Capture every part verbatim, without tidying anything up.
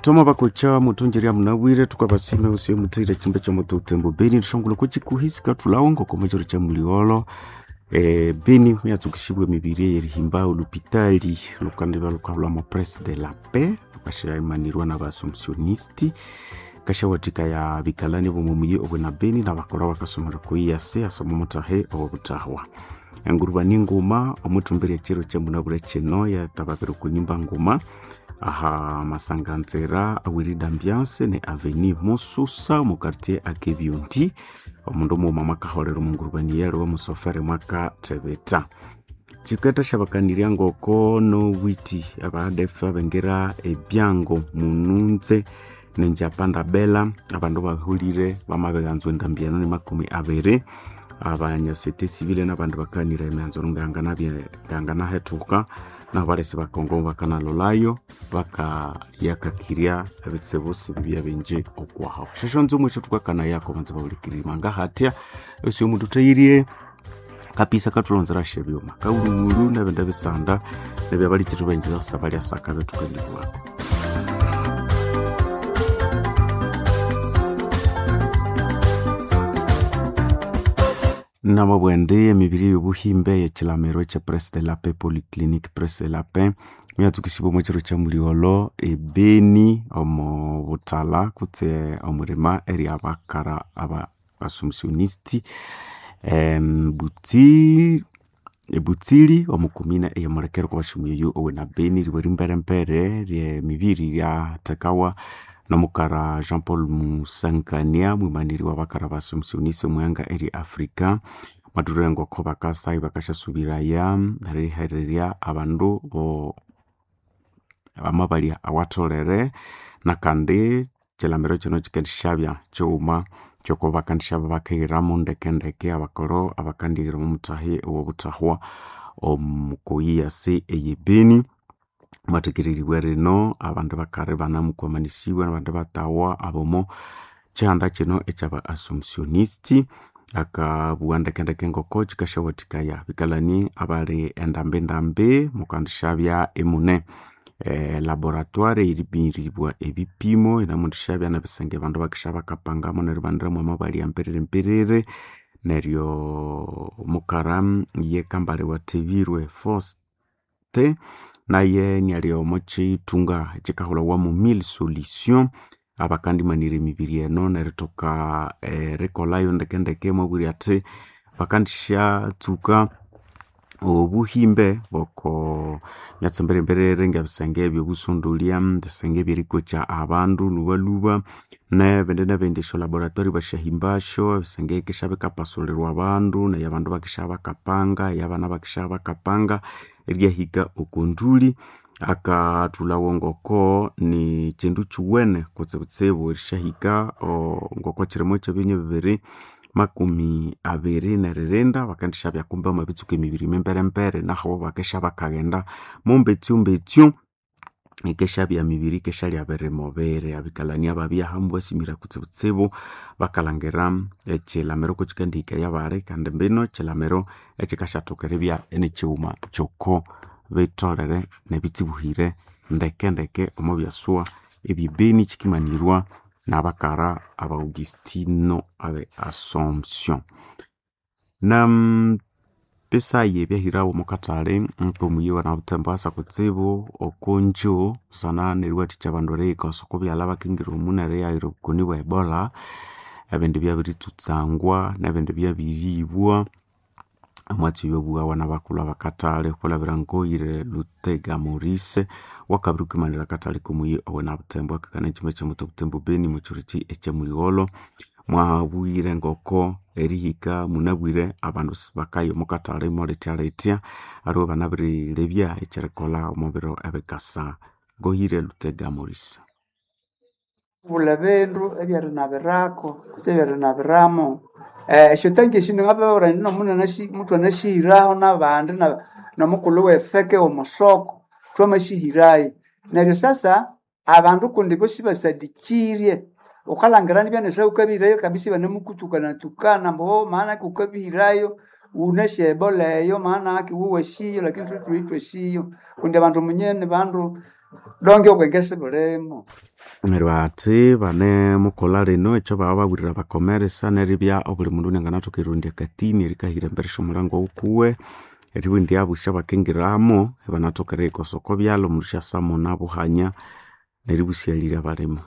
Toma bakocha mutunjiri munabwire tukabasime usiwe mutire chimbe cha moto utembo beni tushongolo kuchikuhisi katulawo ngoko cha muliolo e, beni yatsukishibwe mibiri yerihimba olupitali lukandibya lukahlwamo Presse de la Paix lukashayimanirwa n'abaassumptionisti kashawathika ya bikalani bomomuyi obwe na beni nabakolha bakasomera kuiyase asoma mutahe obutahwa enguruba ninguma omwithumbirya chiro kyamunabwire kino yatababira okunyimba nguma aha masanganzira awirida ambiance ne avenue Mususa mu quartier Akebyundi omundu mughuma mwakaholera omungurubani yali wamusofere mwakathebeta chiketa syabakanirya ngoko nowiti abadefa bengira ebyango mununze nenjapanda bela abandu bahulire bamabeghanzwa endambi eno ni makumi abiri abanyasete civile nabandu bakanira emyanzo nganganahethuka nabo balesi bakongo bakanalolayo bakayakakirya ebitsibu sibibya bingi okwaho shashonzi omwekyo thukakana yako banza bahulikirima ngahatya esi omundu thayirie kapisa kathulonzera shebyuma kauluwulu nebindu ebisanda nebyabalikiri benjiza kusaba lyasaka bethukanibwako. Namabwende emibiri y'obuhimbe y'ekilamiro ekya Presse de la Paix Polyclinique Presse de la Paix myatsukisibwa omu kiro kya muligholo ebeni omu buthala kutse omurima eri abakara aba assumptionisti butsi ebutsili omu kumina eyamulekero kwabasyomuyoyo owe na beni ribwe rimberembere lyemibiri lyathekawa nomukara Jean Paul Musankania mwimaniri wabakara ba Assumptioniste omwihanga eri Africa mwathulire ngoko bakasa ibakasyasubiraya erihererya abandu bo bamabalya awatholere nakandi kyilamiro kino kyikendisyabya kyighuma kyoko bakandisyabya bakighiramu ndekendeke abakolho abakandighira omumuthahi owobuthahwa omukoyiyasi eyebeni mwathekereribwa rino abandu bakari banamukwamanisibwa nabandu batawa abomo kyihanda kino ekyaba Assumptionisti akabugha ndekendeke ngoko kyikasyawathikaya bikalani abali endambindambi mukandisyabya imune e, laboratoire eripiribwa ebipimo inamundisyabya nebisenge abandu bakisya bakapangamu neryo ibaniramu amabali amperere neryo mukara ye Kambale Wathebirwe Faustin naye niali omo kyithunga ekyikahulhawamu mille solution abakandimanira emibiri eno nerithoka erikolhayo ndekendeke mwabwire athi bakandisyatsuka obuhimbe boko myatsi mbirembere ngebisenge ebyobusondolya ebisenge ebyerikokya abandu lhubalhuba nebindi nebindi esyo laboratory basyahimbasyo ebisenge bikisya bikapasulirwa abandu neryo abandu bakisya bakapanga eyabana bakisya bakapanga eryahika okonduli akathulhawo ngoko ni kyindu kyuwene kutsibutsibu erisyahika ngoko kyirimo kyebinywa bibiri makumi abiri neririnda bakandisyabya kumbe bamabitsuka emibiri mimberembere naho bakisya bakaghenda mumbetsyumbetsyu ikesyabya mibiri ikesyalya birimubiri abikalani ababya hamu basimira kutsibutsibu bakalhangira ekyilamiro kukikandihika eyabali kandi mbino ekyilamiro ekyikasyathoka eribya inikighuma kyoko bitholere nebitsibuhire ndekendeke omo byasuwa ebyebeni kyikimanirwa nabakara aba Augustino abe Assumption. Nam bisayi ebyahirawo omukathali nkomuyi wanabuthembo asa kutsibu okonjo busana neriwathikya abandu eriyikosa okubyalha bakingira omu neriyaghira obukoni bwa Ebola ebindi byabiritsutsangwa nebindi byabiribwa omwatsi oyo obuwawa nabakulhu abakathali okwilhabira Ngoyire Lutega Maurice wakabiri kwimanira akathali komuyi owenabuthembo akakana ekyima kyomuti obuthembo beni mukyiro ekyamuligholo mwabwire ngoko erihika munabwire abandu sibakaya omukathali molithyalythya aliwe banabirilebya ekyerikolha omubiro ebikasa. Ngoyire Lutega Maurice. Bula bindu ebyerinabirako kutse ebyerinabiramo eh, esyotangi esyo ngababwira indi nomunene muthu anasihiraho nabandi nomukulhu wefeke omusoko thwamasihirayo neryo sasa abandu kundi bo sibasadikirye wukalhangira nibya nesya wukabihirayo kabisa ibanamukutukanatukana ambu maana ki wukabihirayo wunasi ebola eyo maana ki wuwasiyo lakini thwe thwasiyo kundi abandu munyene bandu Donge obwenge sibulimo. Neryo ati bane mukolha lino ekyo bababwirira bakomeresa neribya obuli mundu nianganathoka erirondya akatini erikahira embere syomulango wukuwe eribugha indi abusya bakingiramo ibanathoka eriyikosa oko byalha omundu syasa muna buhanya neribusyalirya balimo.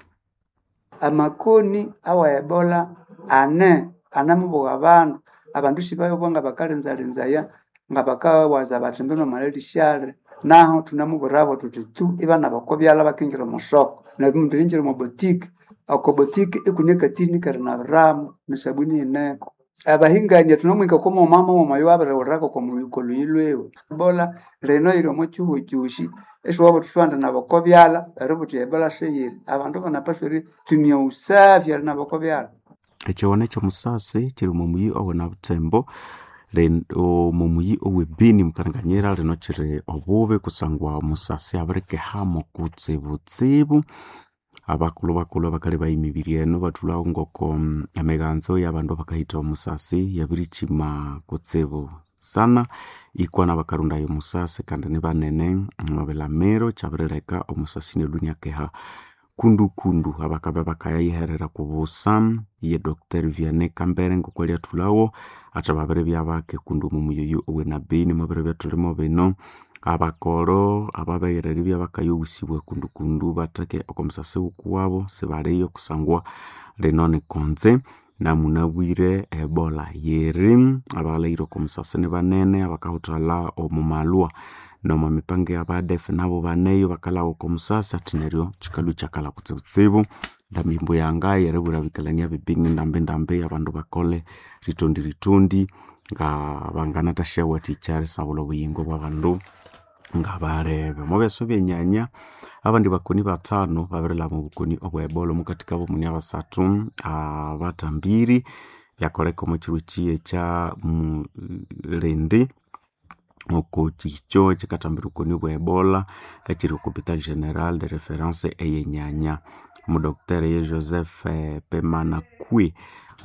Amakoni awa Ebola ane anemubuga abandu abandu sibayowa nga bakalinzalinzaya nga bakawaza bathi mbino amalelisyali naho thunamubwirabo thuthi tu ibanaba oko byalha bakingira omo soko neryo omundu eringira omo boutique oko boutique ikune akatini kerinabiramo nesabuni yineko. Abahingania thunamuhika oko mughuma mughuma oyo wabirighulirako oko luyi lwiwe. Ebola lino yiri omo kihugho kyosi isiwabugha wuthi siwandinaba oko byalha eribugha wuthi Ebola siyiri. Abandu banapaswa eritumya usafi erinaba oko byalha. Ekyighono ekyomusasi kyiri omo muyi owe Nabuthembo omo muyi owe Beni mukalengekanyira lino kyiri obubi kusangwa omusasi abirikehamo kutsibutsibu. Abakulhu bakulhu abakalebaya emibiri eno bathulhawo ngoko emiganzo yabandu abakahitha omusasi yabirikyima kutsibu sana ikwa nabakarondaya omusasi kandi nibanene omwabilamiro kyabirileka omusasi inalhwa iniakeha kundukundu. Abakabya bakayiherera kubusa ye Doctor Vianney Kambere ngoko alyathulhawo athi babiribya bake kundi omo muyi oyu owe Nabeni mwabiribya thulimo bino abakolho ababeghere eribya bakayowusibwa kundukundu batheke oko musasi wukuwabo sibaliyo kusangwa lino nikonze namunabwire Ebola yiri abalhaghire oko musasi nibanene abakahuthalha omo malhwa nomo mipango eyaba A D F nabo baneyo bakalhaba oko musasi athi neryo kyikalhwa ikyakalha kutsibutsibu ndambi yanga yeribwira abikalani abe Beni ndambi ndambi abandu bakole ritondi ritondi nga banganathasyaghathikya erisabulha obuyingo bwabandu ngabalebe. Omwa byasa ebyenyanya abandi bakoni bathanu babirilhaba obukoni obwa Ebola omukathi kabo mune abasathu abathambiri byakoleka omo kyiro kyi ekya mulindi oko kyikyo ekyikathambira obukoni obwa Ebola ekyiri oko Hopital General de Reference eyenyanya. Omudoctor ye Joseph Pemanakwe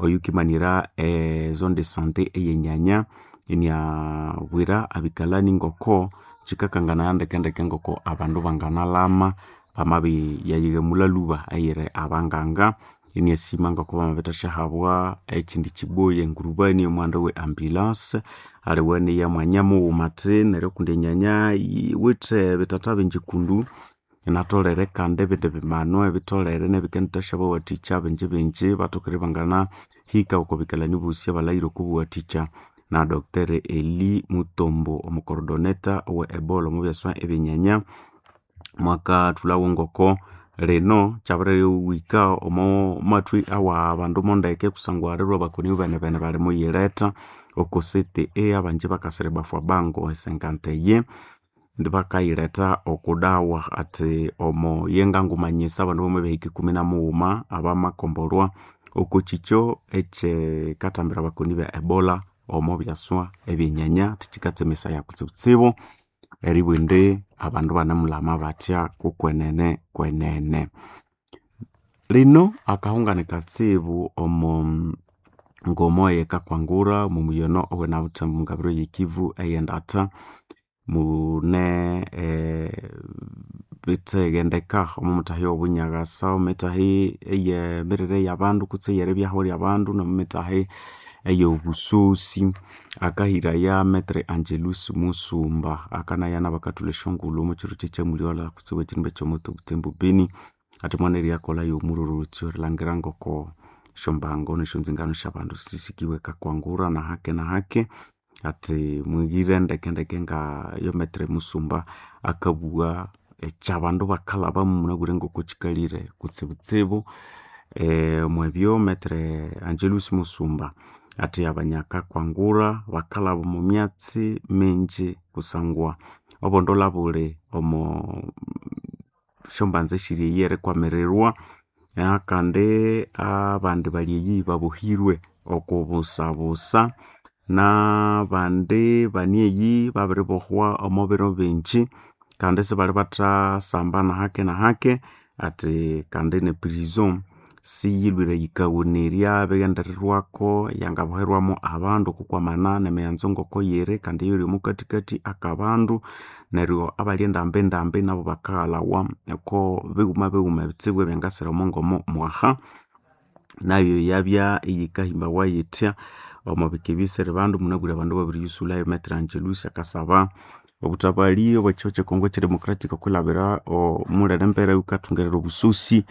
oyukimanira e zone de sante eyenyanya iniabwira abikalani ngoko kyikakanganaya ndekendeke ngoko abandu banganalhama bamabiyayighamulha lhuba eyiri abanganga iniasima ngoko bamabithasyahabwa ekyindi kyiboyi engurubani yomughanda we ambulance aliwe niya mwanya mughuma athi neryo kundi enyanya yiwithe bithatha bingi kundu inatholere kandi ebindi bimanu ebitholere nebikendithasyabawathikya bingi bingi bathoke ibanganahika oko bikalani bosi abalhaghire okwabuwathikya na Doctor Eli Mutombo omucoordinator owe Ebola omo byasa ebyenyanya mwakathulhawo ngoko lino kyabiriwika omo mathwi awa bandu mondeke kusangwa lirwe abakoni benebene bali muyiletha oko C T E abangi bakasira ebafwa bango esenkanteye bakayiletha okudawa athi omo yengangumanyisa abandu bamabihika ikumi na mughuma abamakombolwa oko kyikyo ekyikathambira abakoni be Ebola omo byaswa ebyenyanya athi kyikatsemesaya kutsibutsibu eribugha indi abandu ibanemulhama bathya kukwenene kwenene. Lino akahungani katsibu omo ngomo eyikakwangura omo muyi ono owe Nabuthembo omungabiro ye Kivu eyendatha mune ebitheghendeka omo muthahi owobunyakasa, omo mithahi eyemirire yabandu kutse eyeribyaho lyabandu nomo mithahi eyobusosi. Akahiraya Maitre Angelus Musumba akanaya nabakathulha esyongulhu omo kyiro kyekyamulyolha kutsibu ekyindu ekyomuti Butembo Beni athi mwana eryakolhayo omurorotyo erilhangira ngoko esyombango nesyonzingano syabandu sisikiwe kakwangura nahake nahake athi mwigire ndekendeke nga yo Maitre Musumba akabugha ekyabandu bakalhabamu munabwire ngoko kyikalire kutsibutsibu. Omwebyo Maitre Angelus Musumba athi abanyakakwangura bakalhaba omo myatsi mingi kusangwa obondolha buli omo syombanza esiri eyi erikwamirirwa nakandi abandi bali eyi babohirwe okubusabusa nabandi bani eyi babiribohwa omo biro bingi kandi isibali bathasamba nahake nahake athi kandi ne prison. Siyilwire yikawonerya bighendererwako yangaboherwamo abandu okukwamana nemighenzo ngoko yiri kandi yiri omukathikathi akabandu neryo abali endambi ndambi nabo bakaghalawa oko bighuma bighuma ebitsibu ebyangasira omongomo mwaha nayo yabya iyikahimbawa yithya omwabika ebisiri bandu munabwire abandu babiriyusulhayo Maitre Angelus akasaba obuthabali obwekihugho kye Congo ekyedemocratic okwilhabira omulere embere wukathungerera obusosi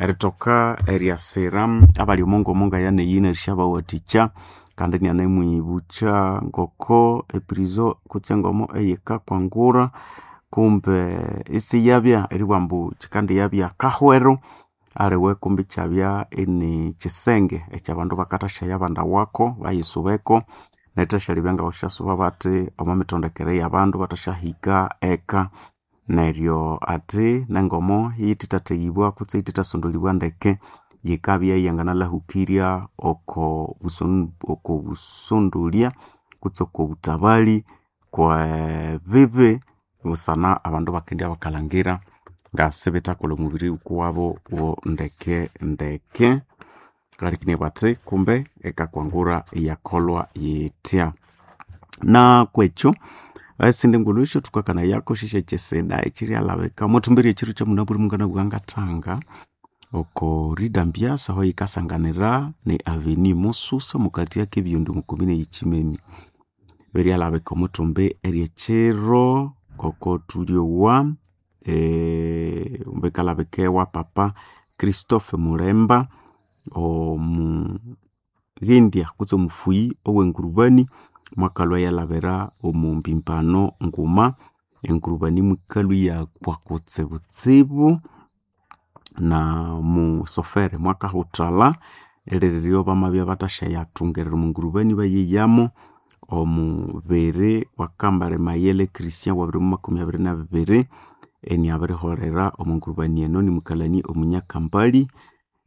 erithoka eryasira abali omongomo ngayaneyi nerisyabawathikya kandi inianemwibukya ngoko eprison kutse engomo eyikakwangura kumbe isiyabya eribugha ambu kyikandiyabya kahwero aliwe kumbe ikyabya ini kyisenge ekyabandu bakathasyaya abandawako bayisubeko nerithasyalyabya ngabasyasuba bathi omo mitondekere yabandu bathasyahika eka neryo athi nengomo yithithatheghibwa kutse yithithasondolibwa ndeke yikabya iyanganalhahukirya oko buson oko busondolya kutse oko buthabali kwebibi busana abandu bakendibya bakalhangira ngasibithakolha omubiri wukuwabo wo ndeke ndeke ngalikine bathi kumbe ekakwangura iyakolhwa yithya na kwekyo esindi ngulhu esyo thukakanayako syesyekyisida ekyiryalhabika omwathumbi ekyiro kyamunabwire munganabugha ngathanga oko Rida Mbiasa aho yikasanganira ne Avenue Mususa mukati akebiyundi mukomine yekyimemi biryalhabika omwathumbi eryekyiro ngoko thulyowa eh, bikalhabika ewa papa Christophe Mulemba omughendya kutse omufuyi owengurubani mwakalhwa iyalhabira omu mbimbano nguma engurubani mwikalhwa iyakwa kutsibutsibu na musofere mwakahuthalha eriliryo bamabya bathasyayathungerera omu ngurubani bayeyamu omubiri wakambale Mayele Christian wabiri makumi abiri nabibiri eniabiriholera omu ngurubani eno nimukalani omunyakambali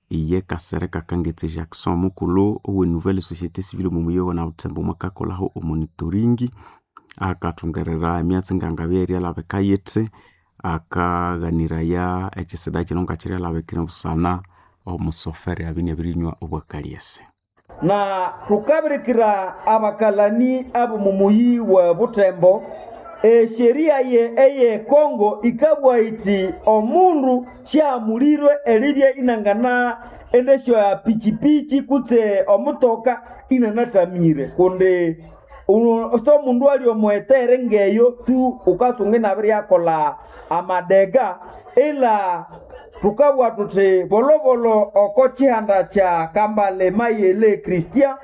iye Kasereka Kangetse Jackson mukulhu owe Nouvelle Société Civile omu muyi na Butembo mwakakolhaho omonitoringi akathungerera emyatsi ngangabya eryalhabika yithi akaghaniraya ekyisida kino ngakiryalhabikira busana omusofere abya iniabirinywa obwakalyese na thukabirikira abakalani ab'omu muyi wa Butembo esheria ye eye Kongo ikabwa iti omundu syamulirwe eribya inangana endesyo ya pichipichi kutse omutoka inanathamire kundi uno- so mundu ali omwetere ngeyo tu ukasunga inabiryakolha amadega ila tukabugha thuthi bolobolo oko kihanda kya Kambale Mayele Christian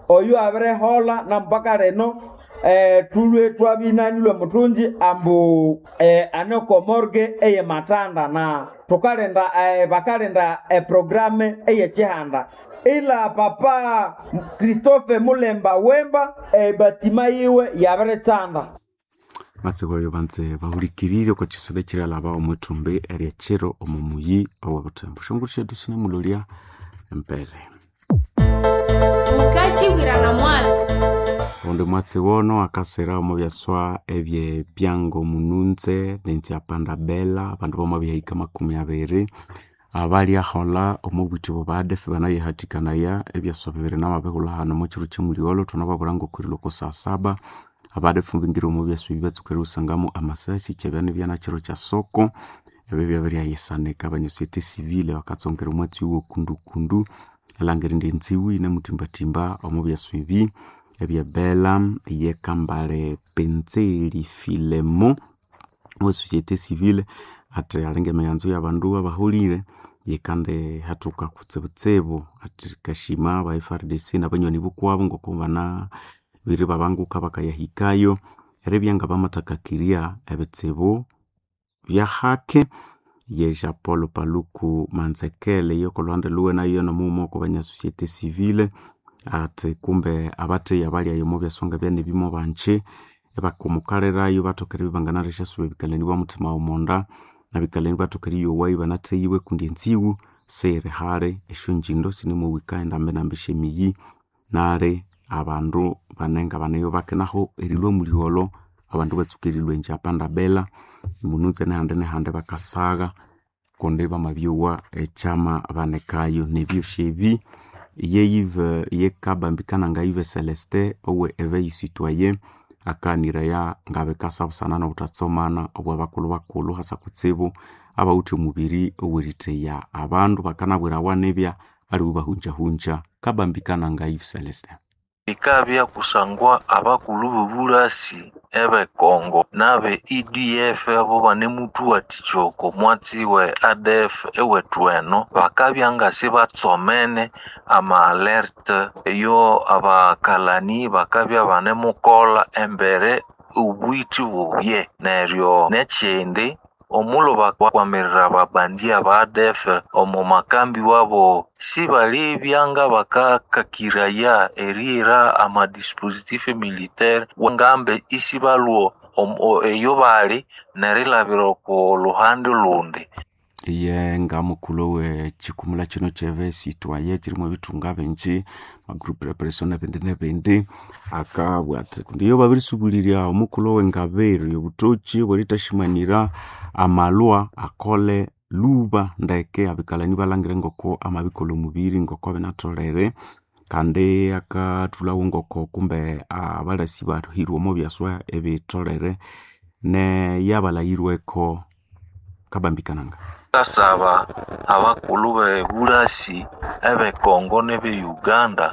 oyo abiriholha nampaka lino eh, tulwe twabinanilwe muthungi ambu eh, ane oko morgue eye Matanda na tukalinda eh, bakalinda eprograme eyekihanda ila papa Christophe Mulemba Wemba ebatima yiwe yabiritsanda matsiko ayo banze bahulikirire oko kyisida ekiryalhaba omwithumbi eryekyiro omu muyi owe Butembo shongolo syethu sinemulolya embere Ukachibwirana mwatsi ondi mwatsi wono akasira omu byaswa ebye byango mununze nentyapanda bela abandu bamabihika makumi abiri abalyaholha omu bwithi bwa banayihathikanaya ebyaswa bibiri namabihulha hano omu kyiro kyemulyolho thunababwira ngokwirila oko saa saba abadefu bingira omu byaswa ebi batsuka eriwusangamu amasasi kyabya nibyana kyiro kya soko ebyo byabiryayisanika abanya société civile bakatsongera omwatsi wokundukundu elangira indi enziwu yinemuthimbathimba omu byaswa ebi ebye Bela ye Kambale Penzeli Filemo owe société civile athi alinga emighanzo yabandu abaholire yikandi hathuka kutsibutsibu athi kashima aba F R D C nabanywani bukwabo ngoko banabiri babanguka bakayahikayo eribya ngabamathakakirya ebitsibu byahake ye Jean Paul Paluku Manzekele yokolhuhande lhuwe nayo nomughuma oko banya société civile athi kumbe abatheya abalyayo omo byaswa ngabyanebimo bangye ibakumukalirayo bathoka eribya ibanganathasyasuba ebikalani bwa muthima womonda nabikalani bathoka eriyowayo ibanatheyiwe kundi enziwu siyiri hali esyongindo sinemuhika endambinambi esyemiyi nali abandu banenga baneyo bakinaho erilhwa mulyolho abandu batsuka erilhwa enjapanda bela mununze nehandi nehandi bakasagha Kundi bamabyowa ekyama banekayo nebyosi ebi ye Yves ye Kabambikana nga Yves Celestin owe Eveil Citoyen akaniraya ngabikasa busana nobuthatsomana obwabakulhu bakulhu hasa kutsibu abawithe omubiri oweritheya abandu bakanabwirawa nibya aliwe bahunjahunja. Kabambikana nga Yves Celestin. Bikabya kusangwa abakulhu b'obulasi eb'ekongo n'abe E D F abo banemuthuwathikya oko mwatsi we A D F ewethu eno bakabya nga sibatsomene ama alerte eyo abakalani bakabya banemukolha embere obwithi bubye. Neryo n'ekindi omulo bakwamirira ababandi aba A D F omu makambi wabo sibalibya nga bakakakiraya erihira ama dispositif militaire ngambe isibalwo eyo bali nerilabira oko luhande lundi. Iye nga mukulhu we kikumula kino ky'Eveil Citoyen kirimo ebithunga bingi magroup repression nebindi nebindi akabugha athi kundi iyo babirisubulirya omukulhu owengabiro yobutoki obwerithashimanira amalwa akole lhuba ndeke abikalani balhangire ngoko amabikolha omubiri ngoko binatholere kandi akathulhawo ngoko kumbe abalasi bahirwe omo byaswa ebitholere neyabalhayirweko. Kabambikananga. Ngasaba abakulhu b'ebulasi eb'ekongo n'ebe Uganda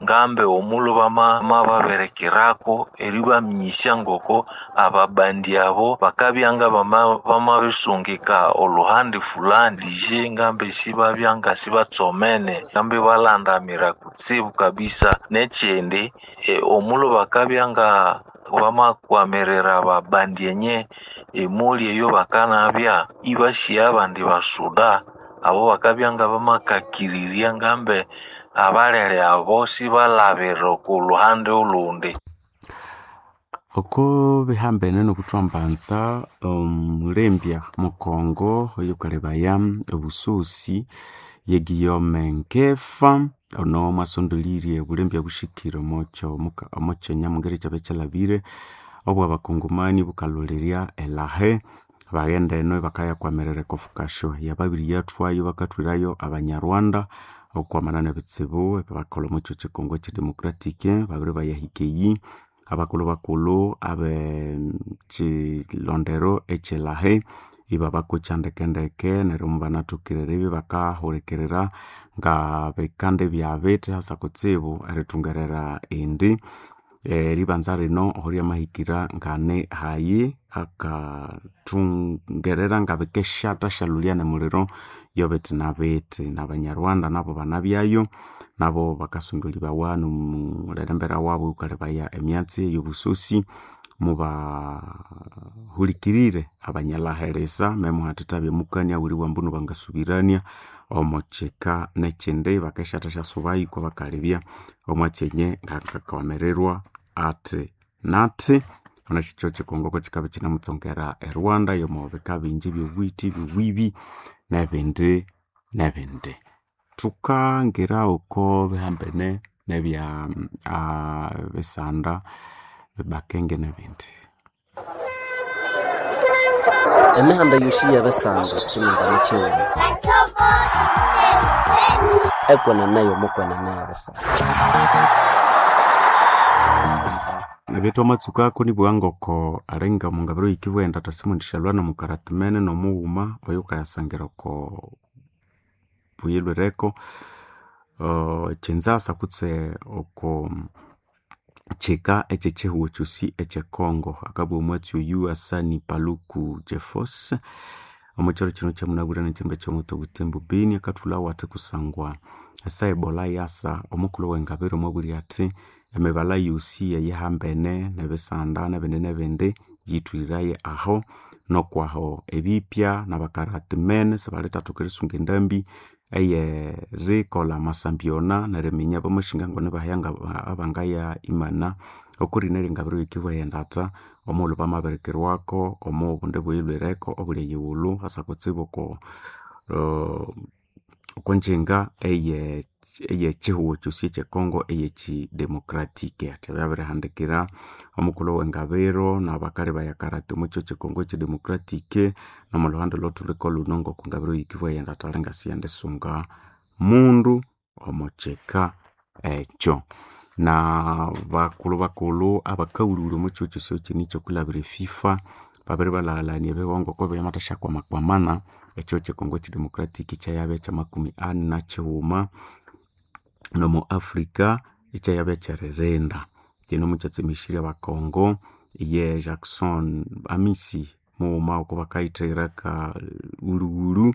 ngambe omulo bamababirikirako eribaminyisya ngoko ababandi abo bakabya nga bamabisungika oluhande fulani lije ngambe sibabya nga sibatsomene ngambe balandamira kutsibu kabisa. N'ekindi e, omulo bakabya nga bamakwamirira ababandi enye emuli eyo bakanabya ibashiya abandi basuda abo bakabya nga bamakakirirya ngambe abalere abo sibalabira oku luhande olundi. Oko bihambene nobuthwambanza omulembya mukongo oyukalebaya obusosi ye Guillaume Nkefa ono mwasondolirye obulembya bushikire omo kyenya mungeri ekyabya kyalhabire obwabakongomani bukalholerya elahe baghenda eno ibakayakwamirira ekofukasyo yababiriyathwayo bakathwirayo abanyarwanda okwamana nebitsibu ebyabakolha omwa kyo kyikongo ekyedemocratic babiri bayahika eyi abakulhu bakulhu abe kyilondero ekyelahe ibabakokya ndekendeke neryo mubanathokire eribya bakahulikirira ngabikanda ebyabithi hasa kutsibu erithungerera indi eribanza lino aho ryamahikira ngane hayi akathungerera ngabikeshatha syalholya nemuliro yobithi nabithi nabanyarwanda nabo banabyayo nabo bakasondolibawa nomulherembera wabu oyukalebaya emyatsi eyobusosi mubahulikirire abanyalhaheresa memuhatithabya mukania weribugha ambu bangasubirania omo kika nekyindi bakeshatha syasubayo iko bakalebya omwatsi enye ngakakwamirira athi nathi onekyo kyikongo kikabya kyinamutsongera e Rwanda yomo bika bingi ebyobwithi ebyobwibi nebindi nebindi. Thukangira oko bihambene nebya bisanda bakenge nebindi. Emihanda yosi yebisanda kyimingane kyighuma ekwenene yomukwenene yebisanda. Ebithu amatsukako nibugha ngoko alinga omungabiro yikibugha indi asimundishalhwa nomukaratimene nomughuma oyukayasangira oko buyilhwireko kyinzasa kutse oko kyika ekyekyihugho kyosi ekye Congo. Akabugha omwatsi oyu Asani Paluku Jefos omwa kyiro kino kyamunabwire nekyimbe kyomuti obutembo Beni akathulhawo athi kusangwa esa Ebola yasa omukulhu owengabiro mwabwire athi emibala yosi eyihambene nebisanda nebindi nebindi yithwiraye aho nokwaho ebipya nabakaratimene sibalithathoka erisunga endambi eyerikolha amasambyona neriminya bamashinga ngoni bahya abangaya imana okurina eryengabiro yikibugha endatha omughulhu bamabirikirwako omo obundi buyilhwireko obuli eyighulhu hasa kutsibu oko okonjenga eye eyechihugo kyosi ekyekongo eyekidemocratic ati byabirihandikira omukulhu wengabiro nabakali bayakarate omukyo kyekongo ekyidemocratic nomuluhande olwathuliko luno ngokungabiro yikibwa yendathalha ngasiyendisunga mundu omukyika ekyo na bakulhu bakulhu abakawulhuwulhu omukihugho kyosi kyini kyokulabira eFIFA babiri balaghalania ebigongo oko byamathasyakwamakwamana ekihugho kyekongo ekyidemocratic kyayabya kyamakumi ani nakighuma nomo Africa ekyayabya kyeririnda kino mukyatsemesirye abakongo ye Jackson Amisi mughuma oko bakayithira ka wulhuwulhu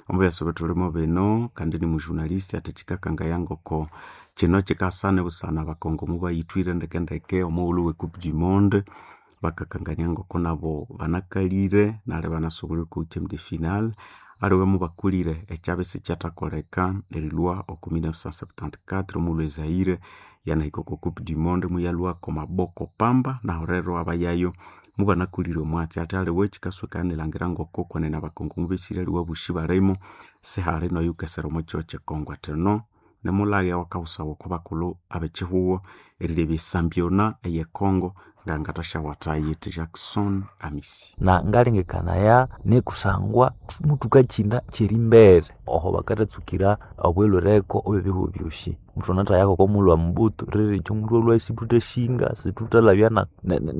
omubyasa ebithulimo bino kandi ni mujurnalist ati kyikakangaya ngoko kino kyikasana busana abakongo mubayithwire ndekendeke omughulhu we coupe du monde bakakangania ngoko nabo banakalire nali banasobolire okwa huitième de finale aliwe mubakulire ekyabya isikyathakoleka erilhwa oko mille neuf cent septante quatre omughulhu ezaire yanahika oko coupe du monde muyalhwako maboko pamba nahu rero abayayo mubanakulire omwatsi ati aliwe kyikaswekana erilhangira ngoko kwenene abakongo mubesire aliwe abosi balimo sihali noyukesera omwa kihugho kyekongo ati no nimulhaghe awakawusawa oko bakulhu abekihugho erilebya esambyona eyekongo ngangathasyawatha yithi Jackson Amisi na ngalengekanaya nikusangwa mutukakyinda kyerimbere oho bakathatsukira obwelhwereko obwebihugho byosi muthu anathayako okomughulhu wa mubutu riri ekyo muthu alhwa situthashinga situthalabya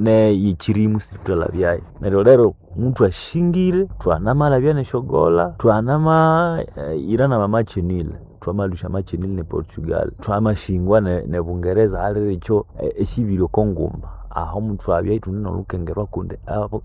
neyikyirimu situthalabyayo neryo lero muthu ashingire thwanamalabya nesyogola thwanama ira namamachinile thwamalhusya amachinile ne Portugal thwamashingwa ne Bungereza aliri ekyo esibiri okonguma aho muthu abya ithune nolhukengerwa kundi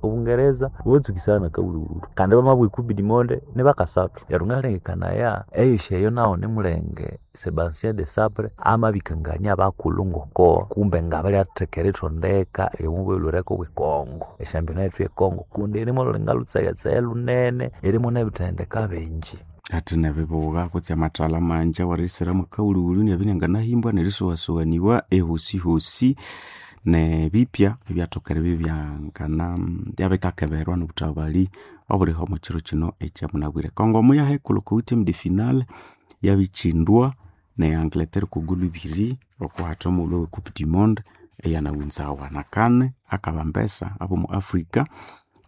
Obungereza bubatsukisaya nakawulhuwulhu kandi bamabugha ecupe du monde nibakasathu neryo ngalengekanaya eyisya eyo nawu nimulenge Sebastien Desabre amabikangania abakulhu ngoko kumbe ngabalyatheka erithondeka eryomubwelhwereko bwe Congo esyampyona yethu ye Congo kundi irimu olhulinga lhutsegetsege lunene irimu nebithendeka bingi ati nebibuga kutse amathalha manji awarisiramu akawulhuwulhu nabya inanganahimbwa nerisuwasuwaniwa ehosihosi nebipya ebyathoka eribya byangana byabikakeberwa nobuthabali obuliho omo kiro kino ekyamunabwire Congo muyahekulhu oko huitième de finale yabikyindwa ne Angleterre okwa goal ibiri okuhatha omughulhu owe coupe du monde eyanaghunzawa nakane akabambesa abomu Africa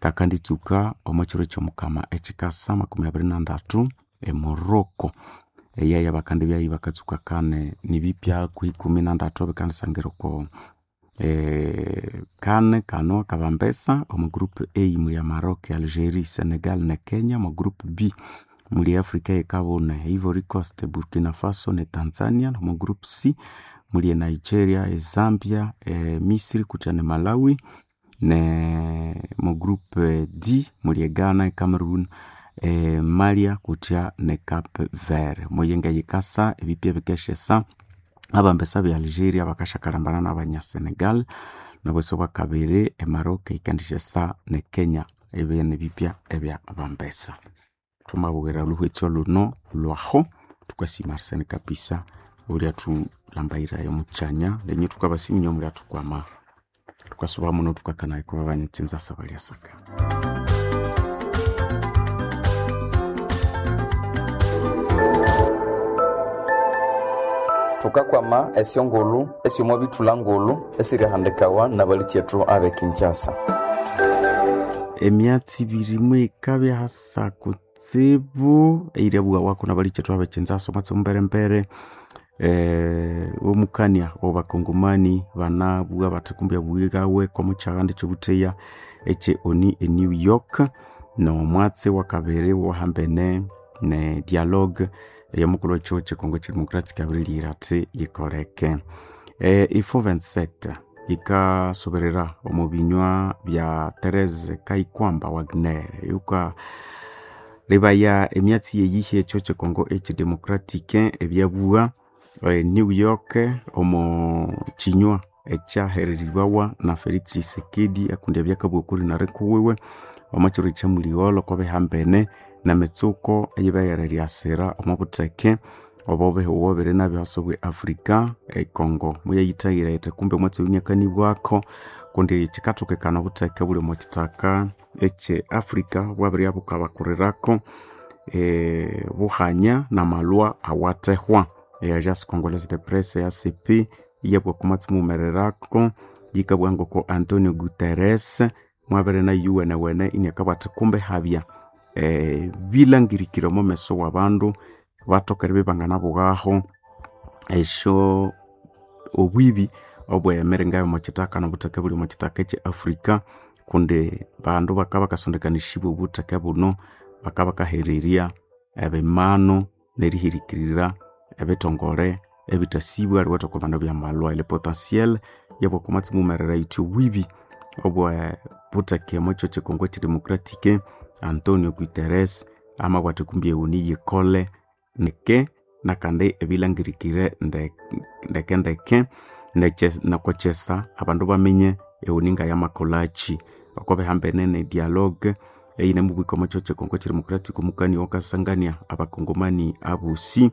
kakanditsuka omo kiro kyomukama ekyikasa makumi abiri nandatu e Morocco eyeya bakandibyayo bakatsuka kane nibipya kwi ikumi nandatu ebikandisangira oko eh, kane kano akabambesa omu group A muli Maroc, Algeria, Senegal ne Kenya omu group B muli Africa yekabune Ivory Coast, Burkina Faso ne Tanzania omu group C muli Nigeria, e Zambia, e Misri kutya ne Malawi ne mu group D muli Ghana, Cameroon, e Malia kutya ne Cape Verde muyenga yikasa ebipya bikeshesa abambesa be Algeria bakashakalambana n'abanya Senegal nobwesi bwakabiri e Maroc ikandishesa ne Kenya ebyo bipya ebya bambesa thumabwira luhwetso luno lwaho tukasima Arsene kabisa ulya thulambayirayo mukyanya nenyu thukabasimunya mulya thukwama thukasuba muno thukakanayo kuba banyitsinza balyasaka thukakwama esyongulhu esyomo bithulha ngulhu esirihandikawa nabalikyetu abe Kinshasa emyatsi ibiri mwikabya hasa kutsibu eirya wako nabalikyetu abe Kinshasa omwatsi mumberembere eh, omukania obakongomani banabugha bathi kumbi abughigawe komukyaganda ekyobutheya ekye oni e New York nomwatsi wakabiri wahambene ne dialogue eyomukulhu wekihugho kyekongo kyedemocratic abirilighira athi yikoleke e, ifo vingt-sept yikasoberera omu binywa bya Therese Kaikwamba Wagner yuka libaya emyatsi yeyihi ekyo kyekongo ekyidemocratic ebyabugha e, New York omu kinywa ekyahereribwawa na Felix Tshisekedi akundi abyakabugha okuri narikuwiwe omu kiro kyamuligholho kwabihambene nemitsuko eyibeyereryasira omu butheke obo bihuwo biri nabyo hasi bwe Africa ekongo muyayithayira yithi kumbe omwatsi oyu iniakanibwako kundi kyikathokekana obutheke obuli omo kithaka ekye Africa bwabiribya bukabakurirako e, buhanya namalwa awathehwa. E Agence Congolaise de Presse A C P iyabwa kumatsi mumererako yikabugha ngoko Antonio Guterres mwabere na yuwenewene iniakabugha kumbe habya e, bilangirikire omo meso w'abandu bathoka eribya ibanganabughaho esyo obwibi obw'emiringa y'omo kithaka n'obutheke obuli omo kithaka ekye Africa kundi bandu bakabya bakasondekanishibwa obutheke buno bakabya bakahererya ebimanu nerihirikirira ebithongole ebithasibwa eriwetha okwa bandu byamalwa. Le potentiel yabwa kumatsi mumerera yithi obwibi obwe butheke omo kyo kyekongo ekyedemocratic. Antonio Guterres amabugha athi kumbi ewuni yikole ndeke nakandi ebilangirikire ndeke ndeke nokokyesa abandu baminye ewuni ngayamakolhaki oko bihambene ne dialogue eyinemubwika omo kyo kyekongo ekyedemocratic omukani owakasangania abakongomani abosi.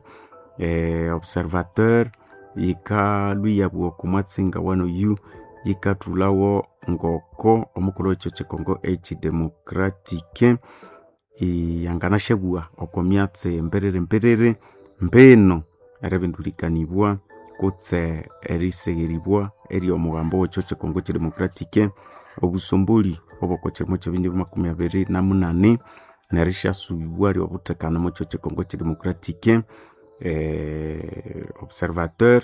E, observateur yikalhwa iyabugha okwa mwatsi ngawanoyu yikathulhawo ngoko omukulhu w'ekyo kyekongo ekyedemocratic yanganashabugha okwa myatsi mbiriri mbiriri mbinu eribindulikanibwa kutse erisigheribwa ery'omughambo w'ekyo kyekongo ekyedemocratic obusomboli obw'oko kyirimo ky'ebindi makumi abiri na munani nerishasubibwa ry'obuthekano omo kyo kyekongo ekyedemocratic. Eh, observateur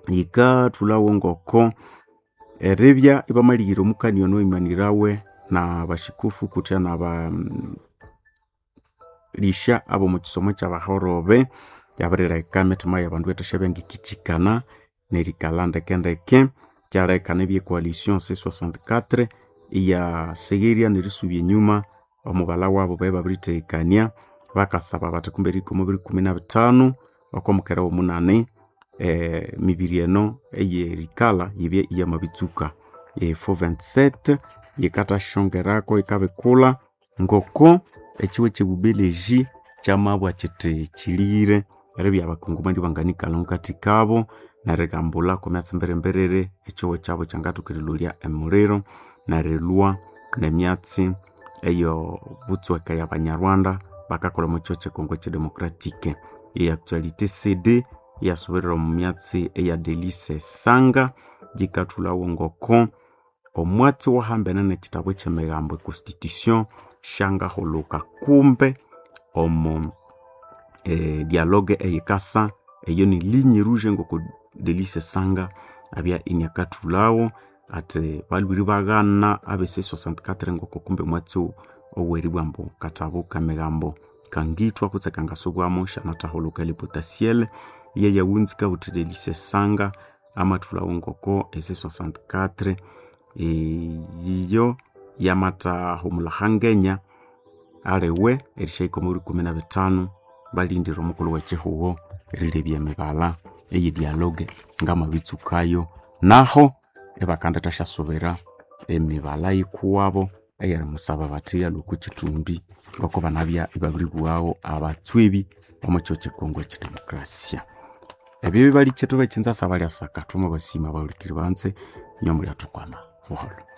yikathulhawo ngoko eribya ibamalihira omukani ono owimanirawe nabashikufu kutya naba lisha ab'omu kisomo ky'abahorobe yabirileka emitima y'abandu ethashabya ngikikyikana nerikalha ndekendeke kyaleka nebya coalition C sixty-four iyasigherya nerisubya enyuma omughalha wabo babe babirithekania bakasaba bathi kumbe erihika biri kumi na bithanu okw'omukera w'omunani eh, mibiri eno eyerikalha yibye iyamabitsuka. E four twenty-seven yikathashongerako yikabikulha ngoko ekiwe ky'ebubeleji kyamabwa kyithi kyilighire eribya abakongomani banganikalha mukathikabo nerigambulha okwa myatsi mbirimbiriri ekiwe kyabo kyangathoka erilholya emuliro nerilhwa n'emyatsi eyo butsweka ya banyarwanda bakakolha omo kyo kyekongo ekyedemocratic. E actualité C D iyasubirira omu myatsi eya Delice Sanga yikathulhawo ngoko omwatsi owahambene n'ekitabu eky'emigambo e constitution syangahulhuka kumbe omo e, dialogue eyikasa eyo ni ligne rouge ngoko Delice Sanga abya iniakathulhawo athi balhwire baghana abe C sixty-four ngoko kumbe omwatsi oweribwa ambu katabu k'emigambo kangithwa kutse kangasubwamu syanathahulhuka le potentiel yeyawunzika wuthi Delice Sanga amathulhawo ngoko e C sixty-four iyo yamathahumulha hangenya aliwe erishahika omwa biri kumi na bithanu balindire omukulhu w'ekihugho erilebya emibalha eye dialogue ngamabitsukayo naho ibakandithasyasubira emibalha yikuwabo eyerimusaba bathi alhwe okwa kithumbi ngoko banabya ibabiribughawo abatswebi omo kyo kyekongo ekyedemokrasia. Ebyo bibalikyetu bekyinzasa balyasaka thwamabasima abahulikiri banze inywe mulyathukwama buholho.